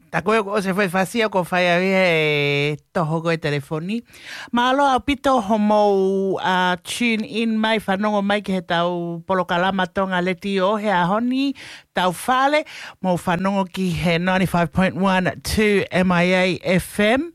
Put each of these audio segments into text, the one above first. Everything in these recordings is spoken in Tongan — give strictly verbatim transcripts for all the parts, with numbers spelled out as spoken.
Tā ko ē ʻoku ʻosi e foʻi fasi ʻoku fai ai he toho ko ē telefoni. Mālō ʻaupito hoʻomou tune in mai, fanongo mai ki heʻetau polokalama Tonga Letiō he ʻaho ni, tau fale, mou fanongo ki he ninety-five point one two M I A F M.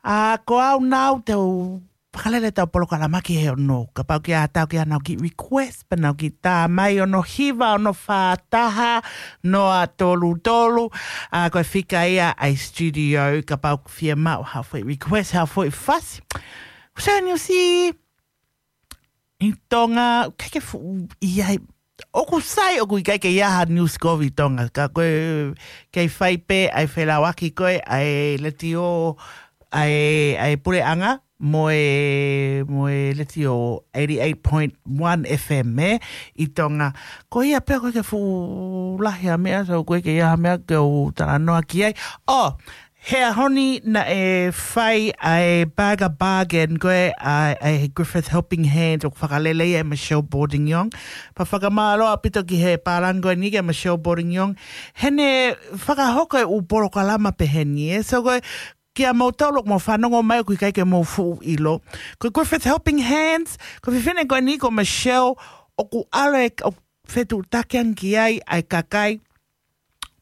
ʻA, ko au nau te u fakalele ʻetau polokalama ki he ono. Kapau ʻoku ʻi ai ha taha ʻoku ʻi ai haʻanau kiʻi request, pea nau kiʻi tā mai, ono hiva, ono fā taha, noa tolu tolu. ʻA, ko e fika ia ʻa e studio, kapau ʻoku fiemaʻu haʻo foʻi request, haʻo foʻi fasi. Kusa ni usi ʻi Tonga, ʻikai ke fuʻu ʻi ai. ʻOku sai, ʻoku ʻikai ke ʻi ai ha news kovi ʻi Tonga. Ka ko e kei fai pē ʻa e felāveʻi ko ē ʻa e letiō, ʻa e, ʻa e puleʻanga, mo e, mo e letiō eighty-eight point one F M, ē, ʻi Tonga. Ko ia pē, ʻoku ʻikai ke fuʻu lahi ha meʻa, so ʻoku ʻikai ke ʻi ai ha meʻa ke u talanoa ki ai. ʻO, he ʻaho ni naʻe fai ʻa e Burger Bargain ko ē ʻa, ʻa e Griffith Helping Hands ʻoku fakalele ia ʻe Michelle Bordignon. Pea fakamālō ʻaupito ki he pālangi ko eni kia Michelle Bordignon. Heʻene fakahoko e ʻū polokalama pehē ni, ē. So ko e, kia moutolu ʻoku mou fanongo mai ʻoku ʻikai ke mou fuʻu ʻilo. Ko e Griffith Helping Hands, ko e fefine ko eni ko Michelle ʻoku ʻalu ʻo fetuʻutaki ange ki ai ʻa e kakai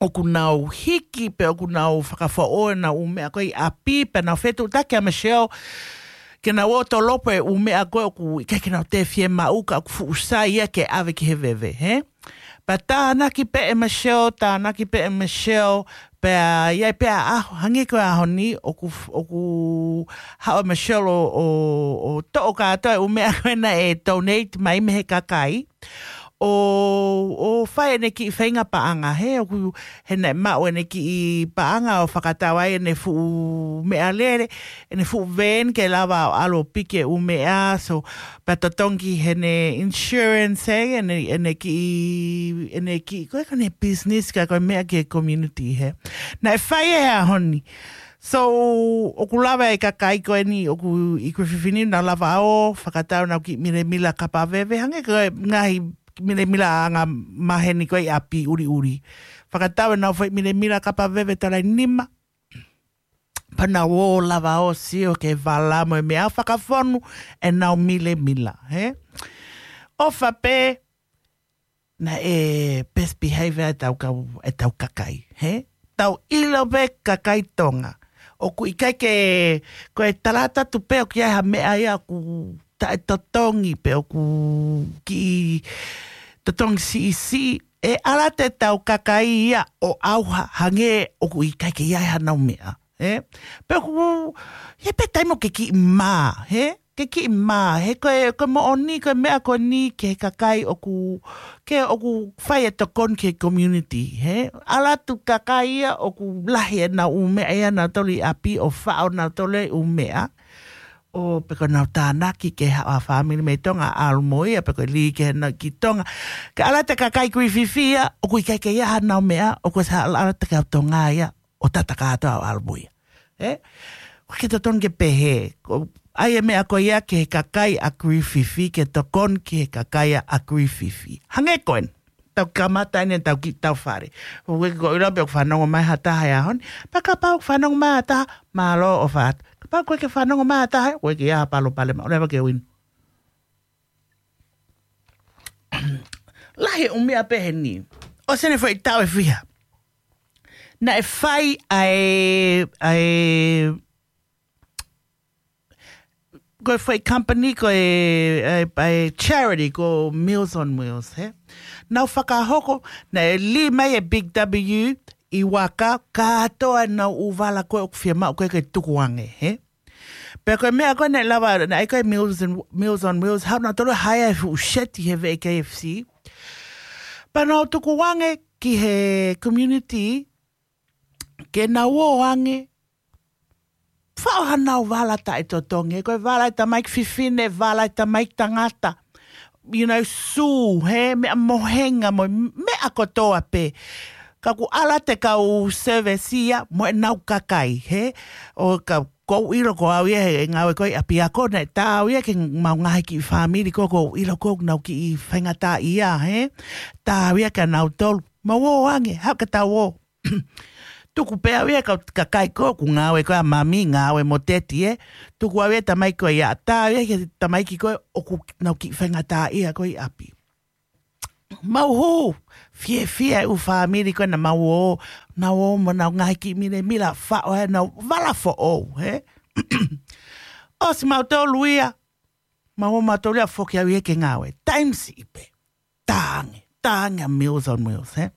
ʻoku nau hiki pe ʻoku nau fakafoʻou ʻenau ʻū meʻa ko ē ʻi ʻapi, pea nau fetuʻutaki ʻa Michelle ke nau ō ʻo tolopo e ʻū meʻa ko ē ʻoku ʻikai ke nau toe fiemaʻu ka ʻoku fuʻu sai ia ke ʻave ki he veve, hē? Pea tānaki pē ʻe Michelle, tānaki pē ʻe Michelle, pea ʻi ai pē ʻa e ʻaho, hangē ko e ʻaho ni, ʻoku, ʻoku haʻu ʻa Michelle ʻo, ʻo, ʻo toʻo kātoa e ʻū meʻa ko ē naʻe donate mai mei he kakai. ʻO, ʻo fai ʻene kiʻi feinga paʻanga, hē, ʻoku, he naʻe maʻu ʻene kiʻi paʻanga ʻo fakatau ai ʻene fuʻu meʻalele, ʻene fuʻu van ke lava ʻo ʻalu ʻo piki e ʻū meʻa, so, pea totongi heʻene insurance, hē, ʻene, ʻene kiʻi, ʻene kiʻi, ko e ko ʻene business ka ko e meʻa ki he community, hē. Naʻe fai ʻi he ʻaho ni. So, ʻoku lava e kakai ko eni, ʻoku ʻi Griffith ni, nau lava ʻo fakatau ʻenau kiʻi milemila kapa veve, hangē ko e ngaahi milemila anga maheni ko ē ʻi ʻapi ʻuliʻuli. Fakatau ʻenau foʻi milemila kapa veve tala ʻe nima. Pea nau ō lava ʻo sio ki he vala mo e meʻa ʻo fakafonu ʻenau milemila, hē? ʻOfa pē, naʻe best behavior ʻetau kau, ʻetau kakai, hē? Tau ʻilo pē kakai Tonga. ʻOku ʻikai ke, ko e talata tu pē ʻoku ʻi ai ha meʻa ia ʻoku taʻetotongi pe ʻoku kiʻi totongi siʻisiʻi. ʻE ʻalu atu ʻetau kakai ia ʻo ʻauha hangē ʻoku ʻikai ke ʻi ai hanau meʻa. Hē? Pea ʻoku, he pē taimi ʻoku ke kiʻi mā, hē? Ke kiʻi mā, he ko e, ko e moʻoni, ko e meʻa ko eni ki he kakai ʻoku, ke ʻoku fai e tokoni ki he community, hē? ʻAlu atu kakai ia ʻoku lahi ʻenau ʻū meʻa ia nautolu ʻi ʻapi ʻo faʻo nautolu e ʻū meʻa. ʻO pe ko ʻenau tānaki ke haʻu ha fāmili mei Tonga ʻalu mo ia, pe ko e lī ke nau ki Tonga. Ke ʻalu atu e kakai Griffith ia, ʻoku ʻikai ke ʻi ai hanau meʻa, ʻoku ʻosi ʻalu atu e kau Tonga ia ʻo tata kātoa ʻo ʻalu mo ia. Ē? ʻOku ʻikai ke totonu ke pehē. Ko, ʻai e meʻa ko ia ki he kakai ʻa Griffith, ke tokoni ki he kakai ʻa Griffith. Hangē ko eni. Tau kamata eni ʻetau kiʻi tau fale. ʻOku ʻikai ke u ʻilo pe ʻoku fanongo mai ha taha he ʻaho ni. Pea kapau ʻoku fanongo mai ha taha, mālō ʻofa atu. Kapau ʻoku ʻikai ke fanongo mai ha taha, ʻoku ʻikai ke ʻi ai ha palopalema. ʻOua leva ke u inu. Lahi e ʻū meʻa pehē ni. ʻOsi ʻene foʻi taʻu ʻe fiha. Naʻe fai ʻa e, ʻa e, ko e foʻi company, ko e, ʻa e, ʻa e charity, ko Meals on Wheels, hē? Nau fakahoko, naʻe lī mai e Big W ʻi Waka, kātoa ʻenau ʻū vala ko ē ʻoku fiemaʻu ko ē ke tukuange, hē? Pea ko e meʻa ko ē naʻe lava, naʻe ko e Meals and, Meals on Wheels, haʻu nautolu ʻo hire e fuʻu seti he veʻe K F C. Pea nau tukuange ki he community, ke nau ō ange, faʻo hanau vala taʻetotongi, ko e vala e tamaiki fefine, vala e tamaiki tangata. You know, sū, hē, meʻa mohenga mo, meʻa kotoa pē. Ka ʻoku ʻalu atu e kau service ia mo ʻenau kakai, hē? ʻO ka, ʻoku ou ʻilo ko au ia he ngāue ko ē ʻi ʻapiako naʻe tā au ia ki heʻemau ngaahi kiʻi fāmili ko ē ʻoku ou ʻilo ʻoku nau kiʻi faingataʻaʻia, hē? Tā au ia kia nautolu. Mou ō ange, haʻu ke tau ō. Tuku pē au ia ka, ka kai ko ē ʻoku ngāue ko ē ʻa mami, ngāue mo teti ē. Tuku au ia tamaiki ko ia, tā au ia ki he tamaiki ko ē ʻoku nau kiʻi faingataʻaʻia ko ē ʻi ʻapi. Mau hū, fiefia e ʻū fāmili ko ē naʻa mau ō, nau ō mo nau ngaahi kiʻi milemila faʻo ē, nau vala foʻou, hē? ʻOsi mautolu ia, mau ō mautolu ia foki au ia ke ngāue. Taimi siʻi pē. Tānge, tānge ʻa Meals on Wheels, hē?